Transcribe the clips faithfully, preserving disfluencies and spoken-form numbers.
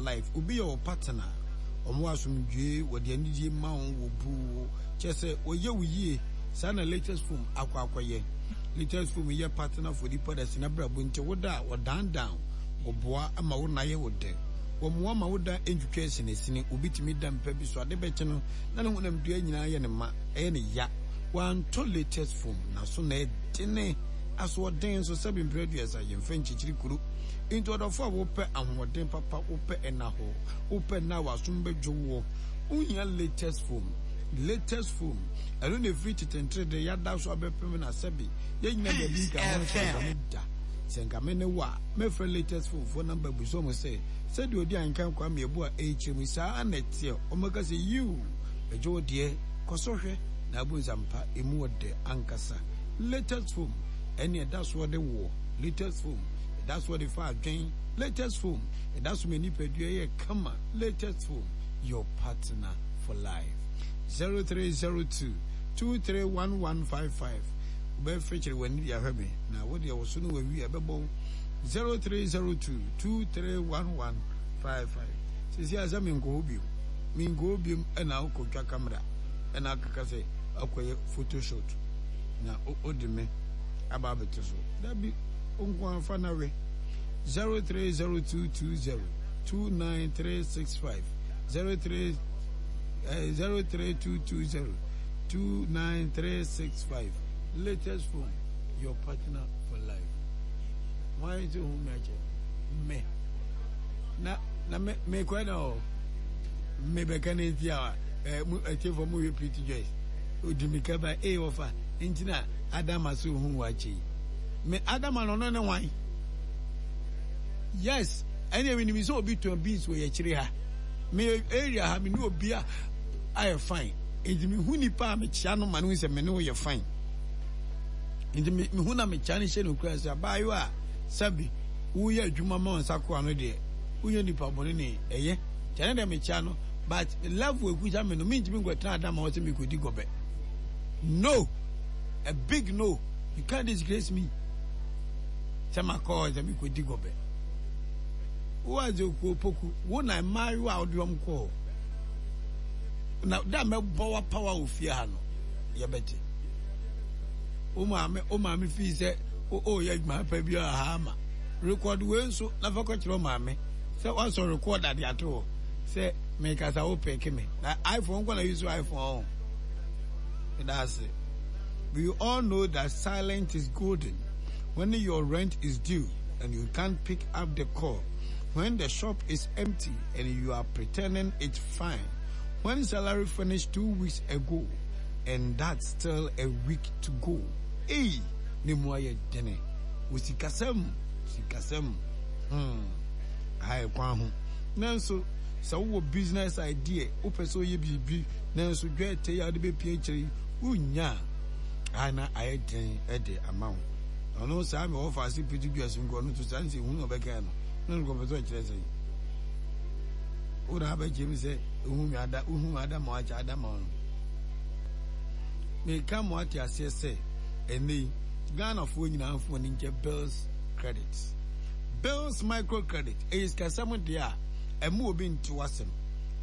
life. Obi yɛ wo partner. Ɔmo asomdwe, wɔde anigye ma wo, wɔ bu wo. Kyerɛ sɛ wɔyɛ wo yie. Saa na latest phone akɔ akɔyɛ. Latest phone yɛ partner for nipa da sina brabo nti wo da a wɔdandan wɔboa ama wo na yɛ wo dɛ. Wɔmmoa ma wo da ntwitwa asinasini. Obi tumi da mpa bi so ade bɛkye no na ne honam dua nyinaa yɛ ne ma, ɛyɛ ne ya. Wantɔ latest phone na so na ɛdene asoɔden nso sɛbi mpere aduasa yɛmfa nkyikyiri kuro. Nti ɔdɔfo a wopɛ ahoɔden papa, wopɛ ɛna hɔ, wopɛ nna a w'asom bɛdwo woɔ, wohia latest phone. Latest phone, ɛno na ɛfiri tetentere de yɛada so abɛpem na sɛbi yɛn nyina baabi nka ho nsɛnsɛm da. Sɛ nka me ne wo a, mɛfrɛ latest phone foɔ number busa ɔmo sɛ, sɛdeɛ ɔdi anka Kwame Abu a ɛrekyerɛ mu saa na ɛteɛ. Ɔmmɛka sɛ yiw, ɛgye wo deɛ, kɔ so hwɛ na abu nsampa emu ɔdɛ ankasa. Latest phone, ɛne ɛda soɔ de woɔ. Latest phone, ɛda soɔ de fa adwen. Latest phone, ɛda so ma nipadua yɛ kama. Latest phone, your partner for life. zero three zero two two three one one five five. Wobɛfekyere w'ani de ahwɛ me na wo deɛ wo so no wawi a ɛbɛbɔ wo. zero three zero two two three one one five five. Sisi a sɛ menkɔ hɔ biom, menkɔ hɔ biom ɛna wokɔtwa camera ɛna akeka sɛ akɔyɛ photoshoot na wode me aba abɛto so. Dabi, wo nko afa na we. zero three zero two two zero two nine three six five zero three zero three two two zero two nine three six five. Latest phone, your partner for life. Why is it who match me? Na na me me kwa na o me bɛka ne nti a eh mu atiefo mu yɛ Pretty Joyce odi mi ka ba eh wɔfa nti na Adama so hu wa akyi me Adama no no ne wan. Yes, ɛne mi nim sɛ obi tɔn beans wɔ yɛkyerɛ ha me area ha me ne obi a ayɛ fine nti me hu nipa a mekyia no ma no sɛ me ne wo yɛ fine nti me hu na mekyia no hyɛ no kura sɛ abaayewa a sɛbi woyɛ adwuma ma nsa koa no deɛ woyɛ nipa bɔne ne ɛyɛ kyɛ ne deɛ mekyia no but level ekuta me no mentumi nkɔtena adama hɔ sɛ mekɔdi gɔbɛ. No, a big no, you can't disgrace me sɛ makɔ hɔ sɛ mekɔdi gɔbɛ. Wo adze okuo poku wo na mmaayewa a wode wɔn kɔ hɔ na da mɛbɔ w'apawa wɔ fie ha no yɛbɛte. Wo maame wo maame fii sɛ ɔreyɛ adwuma pa bi a ha ama rekɔd wei nso na fa kɔkyerɛ wo maame sɛ wasɔ rekɔd ade ato hɔ sɛ mekasa wo peke me na iPhone nkɔ na use iPhone that's it. We all know that silence is golden. When your rent is due and you can't pick up the call, when the shop is empty and you are pretending it's fine, when salary finished two weeks ago and that's still a week to go. Hey, ne mu ayɛ dene. Wɔ sikasɛm, sikasɛm. Hmm. Ha yɛ kwan ho. Nanso, sɛ wowɔ business idea, wopɛ sɛ woyɛ biribi, nanso dwɛɛtɛ yi a wode bɛpia akyire yi, wonnya a, na ayɛ den de ama wo. Ɔno saa me wɔfa ase piti dua so nko ɔno nso saa nsɛ hu na ɔbɛka no. Na no kɔpɛ sɛ ɔkyerɛ sɛ wo na abɛkyerɛ mi sɛ ehu mi ada wohu mi ada ma wakyɛ ada ma ɔno. Meka mo ate aseɛ sɛ ɛnɛ yi Ghanafoɔ nyinaa mfo ani nkyɛ bills credit. Bills micro credit ɛyɛ sikasɛm deɛ a ɛmo obi nte w'asɛm.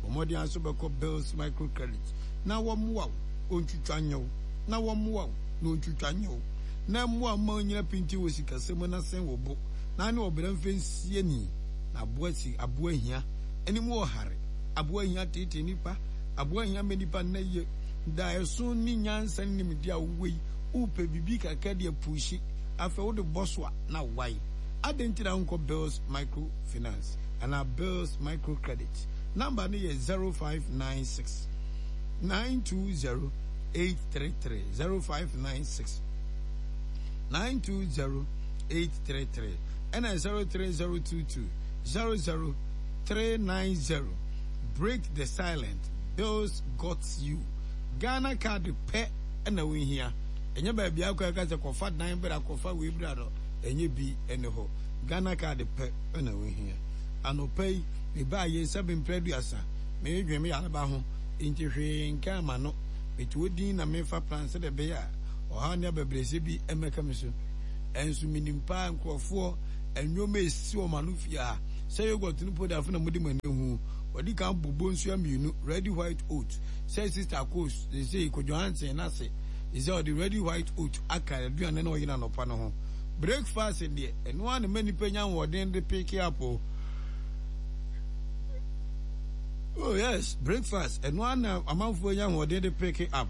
Bɔ mmɔden ara nso bɛkɔ bills micro credit na wɔmmoa wo ɔntwitwa nyɛ wo na wɔmmoa wo na ɔntwitwa nyɛ wo na mmoa wo ma ɔnyina pintinn wɔ sikasɛm mu na sɛn wo bo na ne ɔbra mfa nsie ni na aboa si aboa hia anim wɔ hare aboa hia teetee nipa aboa hia ma nipa nna yie daeɛso ne nyansa ne nimdeɛ a wowɔ yi wopɛ biribi kakra de apuuhyi afei wode bɔ so a na wae adɛn nti na wonkɔ bills micro finance anaa bills micro credit number no yɛ zero five nine six nine two zero eight three three zero five nine six nine two zero eight three three ɛna zero three zero two two zero zero three nine zero. Break the silent, bills got you. Ghana card pɛ ɛna wohia. Ɛnyɛ baabi akɔ ɛka sɛ kɔfa dan bra kɔfa wei bra no ɛnyɛ bi ɛne hɔ. Ghana card pɛ ɛna wohia. Anɔpa yi mebaa yɛ sɛ mprɛ aduasa meredwen me yareba ho nti hwee nka ama no. Mete hɔ din na mefa plan sɛdeɛ ɛbɛyɛ a ɔhaw ne abɛbrɛsɛ bi mmɛka me so. Ɛnso menim paa nkurɔfoɔ nneɛma esi wɔn ano fie ha. Sɛ yogurt no powder afei na mode mo ani ahu. Wɔde kan bobɔ nsuo mmienu ready white oat. Sɛ sister Kos sɛ Kojo Hansen n'ase sɛ ɔde ready white oat aka aduane na ɔyɛ n'anɔpa no ho. Breakfast deɛ ɛno ara na ma nipa nya ahoɔden de pick up o. Oh yes, breakfast ɛno ara na amanfoɔ nya ahoɔden de pick up.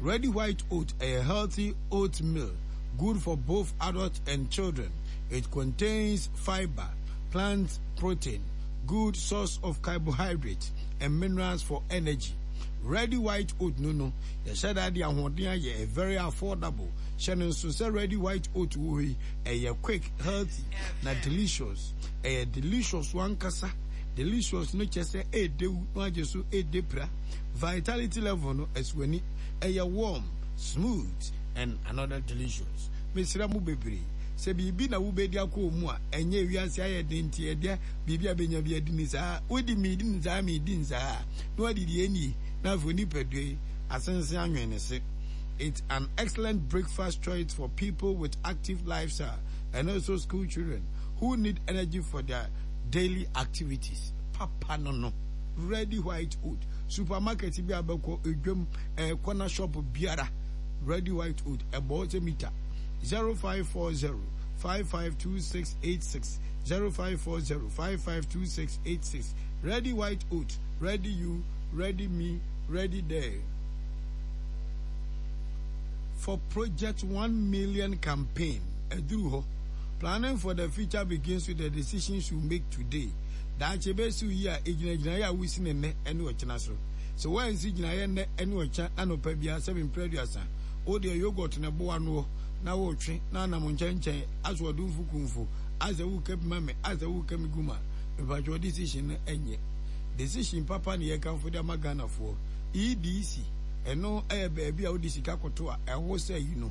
Ready white oat a healthy oatmeal, good for both adults and children. It contains fiber, plant protein, good source of carbohydrate and minerals for energy. Ready white oat no no, yɛhyɛ da de ahoɔden ayɛ very affordable. Hyɛ no nso sɛ ready white oat wɔ hɔ yi, ɛyɛ quick, healthy na delicious. Ɛyɛ delicious wankasa. Delicious no kyɛ sɛ ɛɛdew na wagye so ɛɛde pra. Vitality level no ɛso ɛyɛ warm, smooth and another delicious. Mesrɛ mo bebree sɛ biribi na wobɛdi akɔ mu a ɛnyɛ wiase ayɛ den nti ɛdeɛ biribi a bɛnya bi adi ne saa wodi miidi ne saa miidi ne saa na wadi deɛ nie na afei nipadua yi asensen anwene ne se. It's an excellent breakfast choice for people with active lifestyle and also school children who need energy for their daily activities. Papa no no. Ready white oat. Supermarket bi abɛkɔ edwam eh, corner shop biara. Ready white oat. Ɛbɔ sɛ mita. zero five four zero five five two six eight six zero five four zero five five two six eight six. Ready white oat. Ready you, ready me, ready there. For Project One Million campaign, ɛduru hɔ. Planning for the future begins with the decisions you make today. Daakye bɛsi yi a egyinagyina yɛ a wosi ne nnɛ ɛne ɔkyena so. Sɛ wɔansi gyinaeɛ nnɛ ɛne ɔkyɛ anɔpa biara sɛ mpere aduasa, wo deɛ yogurt na ɛboa noɔ na wotwe na anam nkyɛnkyɛn aso ɔdomfo kumfo asɛ woka bi ma me asɛ woka mi gu ma mepatwɛ decision no ɛnyɛ decision papa ne yɛkamfo de ama Ghanafoɔ E D C ɛno ɛyɛ baabi a wode sika koto a ɛho sɛ yi no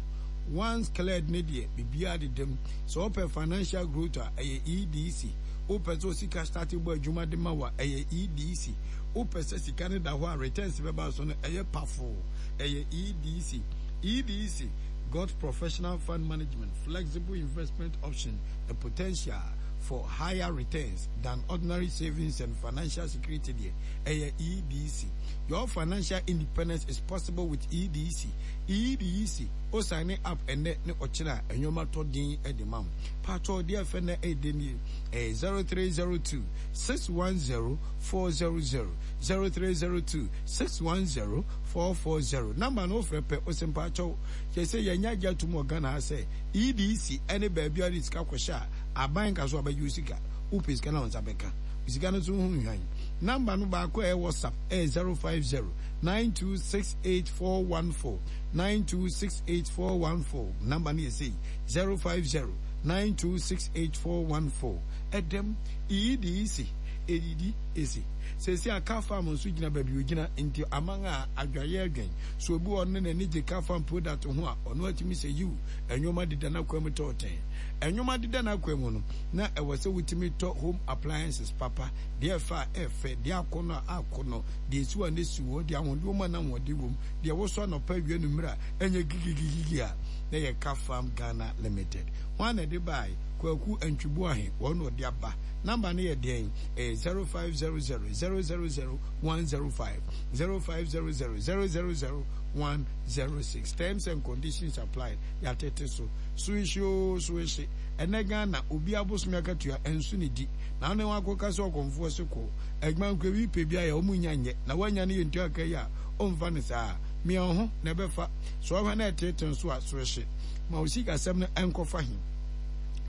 once cleared ne deɛ biribiara dedam. Sɛ wopɛ financial growth a, ɛyɛ E D C. Wopɛ sɛ sika start bɔ adwuma de ma wa, ɛyɛ E D C. Wopɛ sɛ sika no da hɔ a returns bɛba so no, ɛyɛ pafo, ɛyɛ E D C. E D C got professional fund management, flexible investment option, the potential for higher returns than ordinary savings and financial security deɛ, ɛyɛ E D C. Your financial independence is possible with E D C. E D C, o sign up ɛnɛ ne ɔkyerɛ a ɛnwoma tɔ din de ma wo. Patɔ deɛ fɛ na ɛde nie, ɛyɛ zero three zero two six one zero four zero zero, zero three zero two six one zero four four zero. Number no wofrɛ pɛ, o sɛ mpakyɛw kyɛ sɛ yɛnya agye atom wɔ Ghana ha sɛ E D C ɛne baabi a wode sika kɔhyɛ a aban ka so abɛgye wo sika. Wopɛ sika na wo nsa bɛka sika no so ho nhwan. Number no baako a ɛyɛ WhatsApp ɛyɛ zero five zero nine two six eight four one four, nine two six eight four one four. Number no yɛ sei, zero five zero nine two six eight four one four. Ɛdɛm E D C ɛdidi ɛsi sɛsi a car farm nso gyina baabi ogyina nti aman a adwaeɛ adwen so obi wɔ no n'ani gye car farm product ho a ɔno atumi sɛ yiw ɛnwoma deda n'akwan mu tɔɔtɛn ɛnwoma deda n'akwan mu no na ɛwɔ sɛ wotumi tɔ home appliances papa deɛ ɛfa a ɛfɛ deɛ akɔnɔ a akɔnɔ deɛ esi wɔ ne si wɔ deɛ ahoɔden wɔ mu a n'ahoɔden wɔ mu deɛ wɔsɔ anɔpa awia no mmerɛ a ɛnyɛ gigigigigi a na yɛ Car Farm Ghana Limited wɔn a na ɛde baa Kwaku Antwibuahe wɔn na ɔde aba. Number no yɛ deɛn? Ɛyɛ zero five zero zero zero zero zero one zero five, zero five zero zero zero zero zero one zero six. Terms and conditions apply. Yɛatete so so ehye o so ehye ɛnɛ Ghana obi abosom akatua ɛnso ne di na ɔne wɔn akɔka sɛ ɔkɔmfoɔ se kɔ adwuma nkɔ ewi pɛ bi ayɛ wɔn nya nyɛ na wɔanya no yɛ ntua aka yi a ɔmfa no saa mmea ho na ɛbɛfa so ɔhwɛ na ɛtete nso a so ehye ma o sikasɛm no ɛnkɔfa he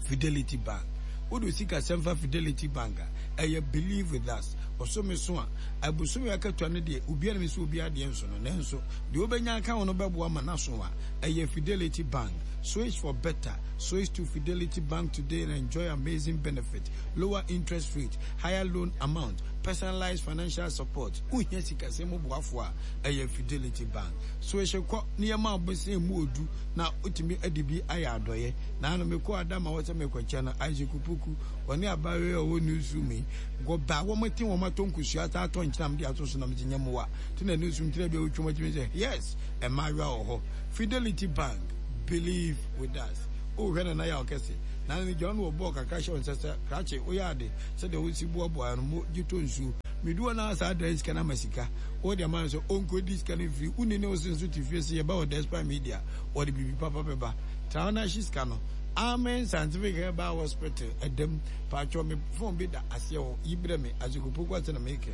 Fidelity Bank. Wode sikasɛm fa Fidelity Bank a, ɛyɛ believe with us. Ɔsome so a abosome akatua no deɛ obiara nim sɛ obiara deɛ nso no nanso deɛ wobɛnya aka wo no bɛboa ma n'aso a ɛyɛ Fidelity Bank. Switch for better. Switch to Fidelity Bank today and enjoy amazing benefit: lower interest rate, higher loan amount, personalized financial support. Wohia sikasɛm mu boafo a, ɛyɛ Fidelity Bank. Switch kɔ nneɛma a wobɛsɛn mu odu na wotumi ade bi ayɛ adɔyɛ na ano mekɔ adama wɔ sɛ mekɔkyɛ no Isaac Opoku ɔne abayewa a ɔwɔ newsroom yi gɔba wɔn te wɔn atɔ nkosua ata atɔ nkyɛn de ato so nam gye nyɛmoa te na newsroom tena bi a wotwa wɔn atumi sɛ yes, mmaayewa wɔ hɔ. Fidelity Bank, believe with us. Wohwɛ Nana yɛ ɔkɛse Na ne gya no wɔ bɔɔl kakra hyɛ wo nsa sɛ krakye woyɛ ade sɛdeɛ wosi boaboa no mo gye tɔ nsuo. Medu hɔ na saa dan sika no ama sika. Wode ama no sɛ ɔnkɔdi sika no mfiri. Wonni ne wo se nso te fie sɛ yɛba wɔ Despite Media wɔde biribi papa bɛba. Tra hɔ na hye sika no. Amen Scientific Herbal Hospital ɛdam. Paatwɔ me phone bi da aseɛ hɔ yi brɛ me Azekopoku ase na mekɛ.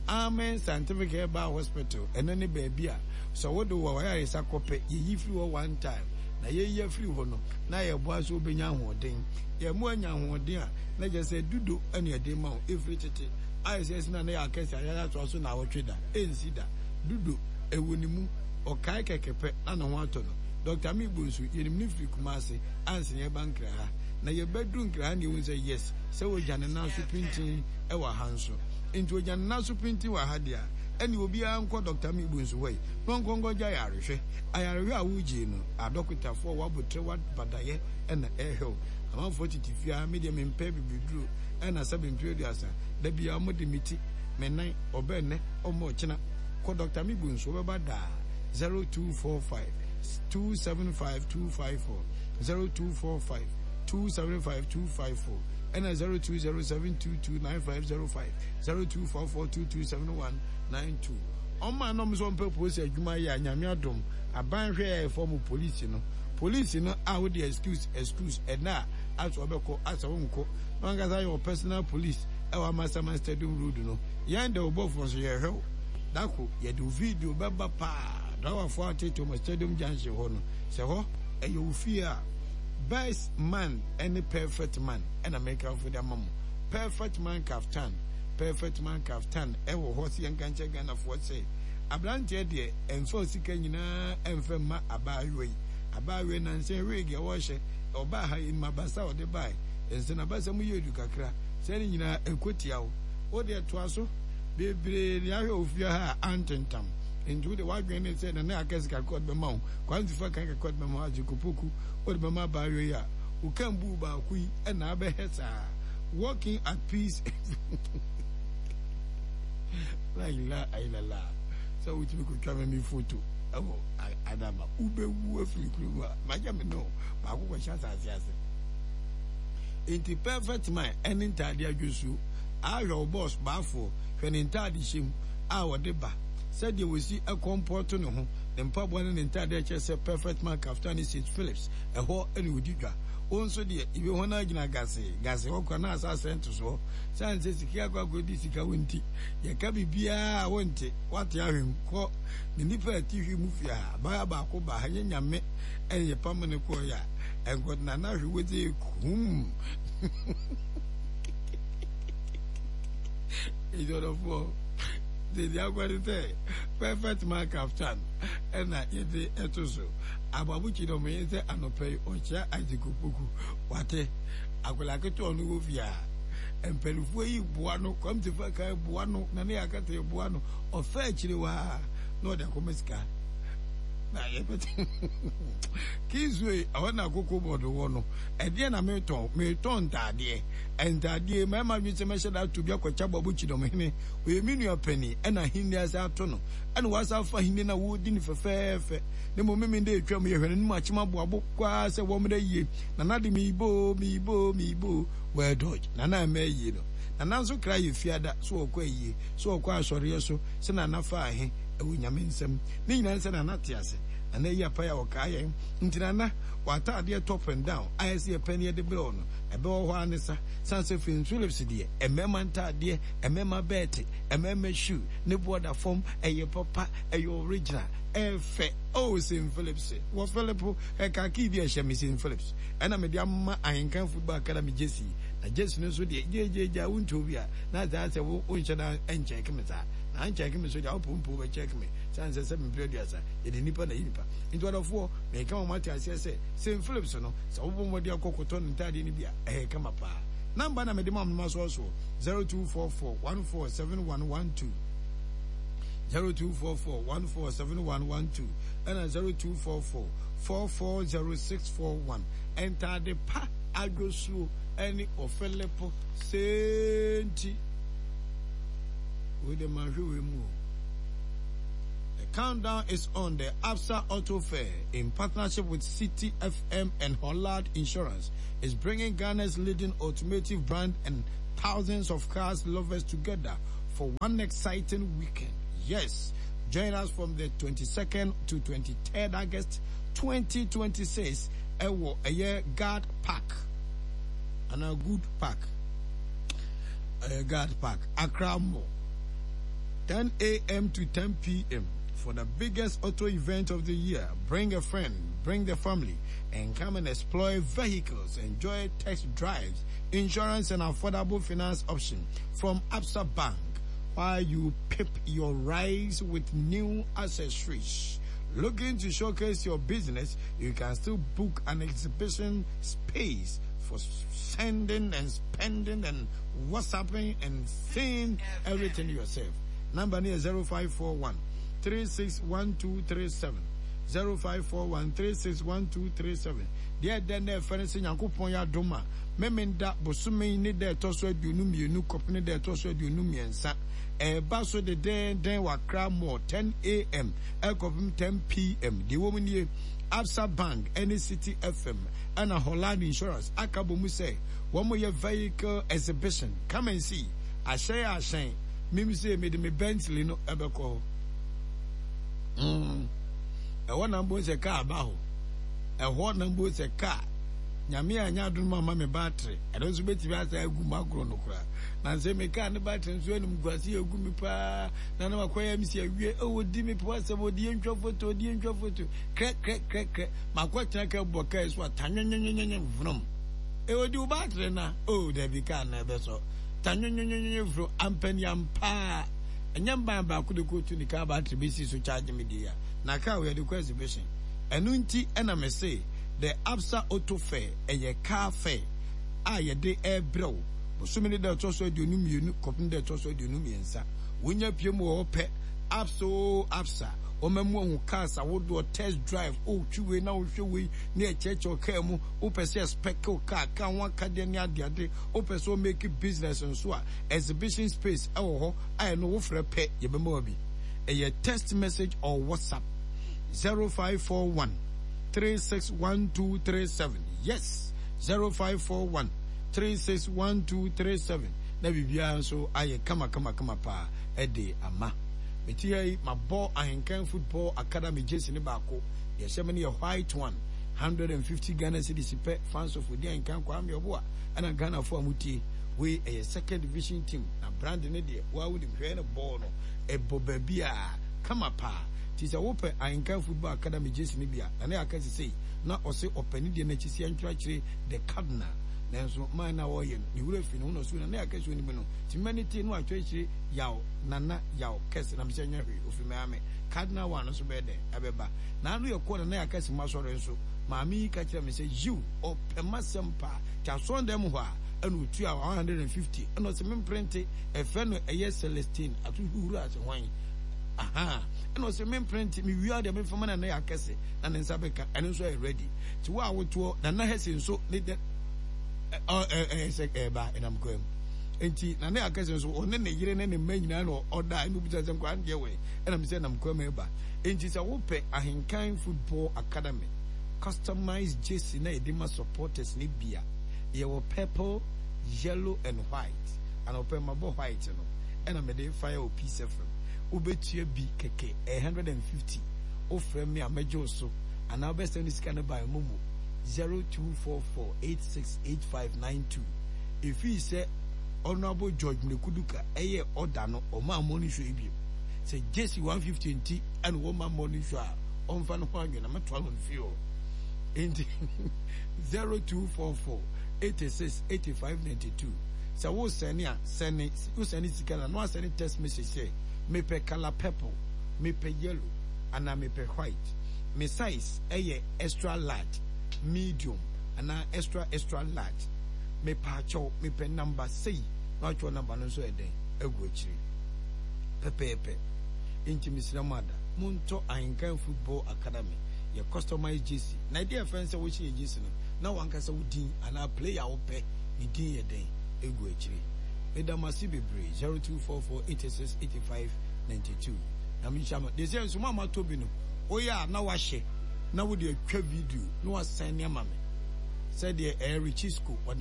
Amen Scientific Herbal Hospital ɛno ne baabi a sɛ wode wɔ wayaresa kɔpɛ yɛyi firi hɔ one time na yɛyi afiri hɔ no na yɛboa sɛ wobɛnya ahoɔden. Yɛn mu anya ahoɔden a na kyerɛ sɛ dudo ɛne ɛde ma wo ɛfiri tete ayɛ sɛ ɛsena na yɛ akɛse ayɛ atoa so na awɔtwe da ɛnsi da dudo ɛwɔ ne mu ɔkae kɛkɛ pɛ na ne ho atɔ no. Doctor Migbo nso yɛnim no firi Kumasi ansa na yɛba Nkra ha na yɛbɛduru Nkra ha na yɛhu sɛ yes sɛ wɔgya ne nan so pintinn ɛwɔ ha nso nti wɔgya ne nan so pintinn wɔ ha deɛ a ɛne obiara nkɔ Doctor Migbo nso hɔ yi na ɔnkɔ nkɔgye ayarehwɛ. Ayarehwɛ a wogyee no adɔkotafoɔ wɔabotrɛ wɔabadayɛ ɛna ɛhwɛ wo. Amanfoɔ tete fie a me deɛ mempɛ bibiduro ɛna sɛbe mfeɛ aduasa da biara wɔde me ti me nan ɔbɛ nnɛ ɔmmɔ ɔkyena kɔ Doctor Migbo nso wɔbɛba daa zero two four five two seven five two five four zero two four five two seven five two five four ɛna zero two zero seven two two nine five zero five zero two four four two two seven one nine two. Ɔmo a na ɔmo sɛ ɔmo pɛ polisi adwuma yɛ a Nyame adom aban hwɛ yɛ ɛfɔ mo polisi no polisi no a wode excuse excuse ɛna a asɛ ɔbɛkɔ asɛ wonkɔ na wankasa yɛ wɔ personal police ɛwɔ Amasaman Stadium Road no yɛn de ɔbɔfoɔ nso yɛhwɛ wo dako yɛde wo video bɛba paa driverfoɔ atete ɔmo Stadium Junction hɔ no sɛ hɔ ɛyɛ wo fie a best man ɛne perfect man ɛna mekamfo de ama mo perfect man kaftan perfect man kaftan ɛwɔ hɔ sɛ yɛnka nkyɛ Ghanafoɔ sɛ aberanteɛ deɛ ɛmfa sika nyinaa ɛmfa mma abaayewa yi abaayewa yi nansa wig a wɔhyɛ ɔbaa ha yi mmabasa a ɔde bae nsa n'abasa mu yɛ edu kakra sɛ ne nyinaa ɛkɔ tia wo wo deɛ toa so bebree ne ahwɛ ofie ha a antentam nti wo de wadwene ne sɛ nana akɛse kakra ɔde bɛma wo kwansifa kan kakra ɔde bɛma wo agyekopoku ɔde bɛma abaayewa yi a wo kan buu baako yi ɛna abɛhɛ saa walking at peace la ilaha illallah sɛ wotumi kɔtwa me me foto ɛwɔ adama wobɛwu afiri kurom a magya me no baako kɔhyɛ asase ase nti perfect man ɛne ntaade adwosuo ahwɛ wo bɔs baafoɔ hwɛ ne ntaade hyɛ mu a wɔde ba sɛdeɛ wɔsi ɛkɔmpɔto ne ho ne mpaboa ne ne ntaade ɛkyɛ sɛ perfect man kaftan ne Saint Phillips ɛhɔ ɛne ɔdi dwa wo nso deɛ ebi ho no agyina gase gase hɔ kora na asase ntosoɔ sane sɛ sika akɔ akɔdi sika wo nti yɛka biribiaa wonte wate ahwem kɔ ne nipa a ɛte hwi mu fie a abaya baako ba ha nyɛ nyame ɛne yɛpam ne kɔɔ yɛ a ɛnkɔ na na hwe wodze kum ɛdɔdɔfoɔ deɛ akɔde sɛ perfect man kaftan ɛna yɛde ɛto so ababokyi dɛ ɔmo yɛ sɛ anɔpɛ yi ɔkyea Isaac Opoku wate akwadaa ketewa ɔno wɔ fie a mpanimfoɔ yi boa no kɔmtifa kan boa no na ne yɛ akata boa no ɔfɛ akyire waa na ɔde akɔma sika na yɛbɛte kinsue ɛhɔ na akoko bɔdo wɔ no ɛdeɛ na metɔn metɔn ntaadeɛ ntaadeɛ mmarima dwen sɛ mɛhyɛ da ato bi akɔkyɛ ababokyi dɔm hene ɔyɛ me nua panin ɛna ahenni ase ato no ɛna wasa afa ahenni na wɔredi no fɛfɛɛfɛ ne mmom meme dɛ atwa mu yɛhwɛ n'anim akyem aboabo koraa sɛ wɔmmrɛ yie nana de meebo meebo meebo well dodge nana ɛmɛ yie no nana nso kra yɛ fiada so ɔkɔ ayie so ɔkɔ asɔreɛ so sɛ nana fa ahe ɛwɔ nyame nsɛm ne nyinaa sɛ nana te ase nana yi apa yɛ a ɔkaa yɛn nti nana w'ataadeɛ top and down ayɛ sɛ yɛpɛ ne yɛde brɛ no ɛbɛwɔ hɔ a ne sa san sɛ Prince Phillips deɛ mmarima ntaadeɛ mmarima bɛɛte mmarima shoe ne boɔda fam ɛyɛ papa ɛyɛ original ɛfɛ oh Saint Phillips wɔ Philip ɛka kii bi ɛhyɛ me Saint Phillips ɛna mede ama Ahenkan Football Academy jersey na jersey no nso deɛ gyegyeegya wontuo bi a na saa sɛ wo wonhyɛ da nkyɛke me saa na nkyɛke me so deɛ wopompo bɛkyɛke me sane sɛ sɛ mempere aduasa yɛde nnipa na yi nipa nti ɔdɔfoɔ meka wɔn ate aseɛ sɛ Saint Phillips no sɛ wobɔ mmɔden akɔ kɔtɔ ne ntaadeɛ no bi a ɛyɛ kama paa namba na mede ma ɔmnoma soɔsoɔ zero two four four one four seven one one two zero two four four one four seven one one two ɛna zero two four four four four zero six four one ntaade pa adwosuo ɛne ɔfɛlɛpo senti wei de ma hwɛ wei mu o The countdown is on the Absa Auto Fair in partnership with Citi FM and Hollard Insurance is bringing Ghana's leading automotive brand and thousands of cars lovers together for one exciting weekend. Yes, join us from the twenty-second to twenty-third August twenty twenty-six ɛwɔ ɛyɛ Guard Park anaa Good Park, ɛyɛ Guard Park, Accra Mall, ten a m to ten p m for the biggest auto event of the year. Bring a friend, bring the family, and come and explore vehicles, enjoy test drives, insurance, and affordable finance option from Absa Bank while you pimp your rides with new accessories. Looking to showcase your business, you can still book an exhibition space for sending and spending and WhatsApping and seeing everything yourself. Number near zero five four one three six one two three seven, zero five four one three six one two three seven. Deɛ ɛdɛ na ɛfɛ no sɛ Nyankopɔn yɛ adom a, Memenda bosome ne da ɛtɔ so aduonu mmienu kɔpem ne da ɛtɔ so aduonu mmiɛnsa ɛɛba so dedɛɛdɛn wɔ Accra Mall, ten a m ɛkɔpem ten p m. Deɛ ɛwɔ mu nie, Absa Bank ɛne Citi F M ɛna Holland Insurance aka bɔ mu sɛ wɔn yɛ vehicle exhibition. Come and see ahyɛn ahyɛn. Mim sɛ mede me Bentley no ɛbɛkɔ hɔ. mm. ɛhɔ na mbɔ sɛ kaa ba hɔ, ɛhɔ na mbɔ sɛ kaa. Nyame anya adom ama me battery, ɛno nso bɛtumi asa agu mu agorɔ no koraa. Na nsɛ me kaa ne battery nso anim guase agu me paa na na makɔyɛ m si awie. Ɛwɔ di me po asɛm, ɔdi yɛntwa photo, ɔdi yɛntwa photo krɛ krɛ krɛ krɛ. Makɔtena ka bɔ kaa so a tanwenwenwenwen vroom. Ɛwɔ di wo battery na oh, dabi, kaa na ɛbɛsɔ tanwenwenwenwen vroom. Ampani ampaa ɛnyɛ mban baako de kɔtu ne kaa battery bɛsi so charge me deɛ na kaa wɔ yɛde kɔ exhibition. Ɛno nti ɛna me se the Absa Auto Fair ɛyɛ car fair a yɛde ɛrebrɛ wo bosome ne da ɛtɔ so aduonu mmienu kɔpem da ɛtɔ so aduonu mmiɛnsa. Wonya pie mu wɔ hɔ pɛ, Absa o, Absa wɔma mu ahu cars ahodoɔ, test drive, wotwi wei na wohwɛ wei ne ɛkyerɛkyerɛ kaa mu. Wopɛ sɛ spec wo car, car ho akadeɛ ne adeade. Wopɛ sɛ womake business nso a, exhibition space ɛwɔ hɔ a ɛno wofrɛ pɛ, yɛbɛma wa bi. Ɛyɛ text message or WhatsApp zero five four one three six one two three seven. Yes, zero five four one three six one two three seven. Na biribiara nso ayɛ kama kama kama paa ɛde ama meti ha yi. Mabɔ Ahenkan Football Academy jersey ne baako deɛ ɛhyɛ me no yɛ white one, hundred and fifty Ghana cedis pɛ. Fans of Odi Ahenkan Kwame Ɔboa ɛna Ghanafoɔ a motie wei, ɛyɛ second division team na brand ne deɛ waa wonim hwɛ ne bɔɔl no ɛbɔ baabi a kama paa. Nti sɛ wopɛ Ahenkan Football Academy jersey no bi a, na ne aka sesei na ɔse ɔpɛ ne deɛ n'akyi si ɛntwerɛkyerɛ the cardinal, nanso man na ɔyɛ no ne wura fi ne ho na ɔso na ne aka si onim no nti mma ne tie no atwerɛkyerɛ yaw nana yaw kɛse na mesɛ nyɛ hwee ofi mɛ cardinal one nso bɛyɛ dɛn ɛbɛba na ano yɛ kɔ na na yɛaka si ma sɔre nso. Maame yi ka kyerɛ me sɛ yiw, ɔpɛ m'asɛm paa nti asɔn dɛm hɔ a ɛna otua one hundred and fifty ɛna ɔsɛ memprinte ɛfɛ no ɛyɛ Celestine ato huhuru ase hwan aha ɛna ɔsɛ memprinte mewia deɛ memfama na na yɛ akɛse na ne nsa bɛka. Ɛno nso ɛyɛ ready nti wo a wotoɔ Nana Hɛse nso ne dɛ ɛyɛ sɛ ɛɛba ɛnam kwan mu nti na ne akɛse nso ɔne ne yere ne ne mma nyinaa na ɔda ɛna obisa sɛ nkwa deɛ wɔ ɛna mi sɛ ɛnam kwan mu ɛba. Nti sɛ wopɛ Ahenkan Football Academy customized jersey na yɛde ma supporters ne bia, yɛwɔ purple, yellow and white. Ana ɔpɛ mabɔ white no ɛna mede fire wɔ Peace F M. Wobɛtua bi kɛkɛ, ɛyɛ hundred and fifty. Wofrɛ me a mɛgye wo so anaa wobɛsɛn ne sika no by MoMo zero two four four eight six eight five nine two. Ɛfii sɛ Honorable George Mrekuduka ɛyɛ ɔda no ɔma morning show yi bio sɛ jersey one fifty nti ɛna wɔma morning show a ɔmfa no ho adwene na mɛtoa no fie hɔ. Nti zero two four four eighty-six eighty-five ninety-two. Sɛ wo sɛne a, sɛne wo sɛne sika na no asɛne text message sɛ mepɛ color purple, mepɛ yellow anaa mepɛ white, me size ɛyɛ extra large, medium anaa extra extra large, mepɛ akyɛw, mepɛ number sei na watwerɛ number no nso ɛdɛn agu akyire pɛpɛɛpɛ. Nti mesrɛ mo ada montɔ Ahenkan Football Academy yɛ customized jersey na ɛdeɛ ɛfɛn sɛ wohyɛ yɛ jersey no na wankasa wo din anaa player a wopɛ ne din yɛ dɛn egu akyire. Meda mo ase bebree. zero two four four eighty-six eighty-five ninety-two. Nyame nhyira mo. Deɛ sɛ nso mo a moatɔ bi no, woyɛ a na wahyɛ na wode atwa video na wasan ne ama me sɛdeɛ ɛyɛ Richisco wɔde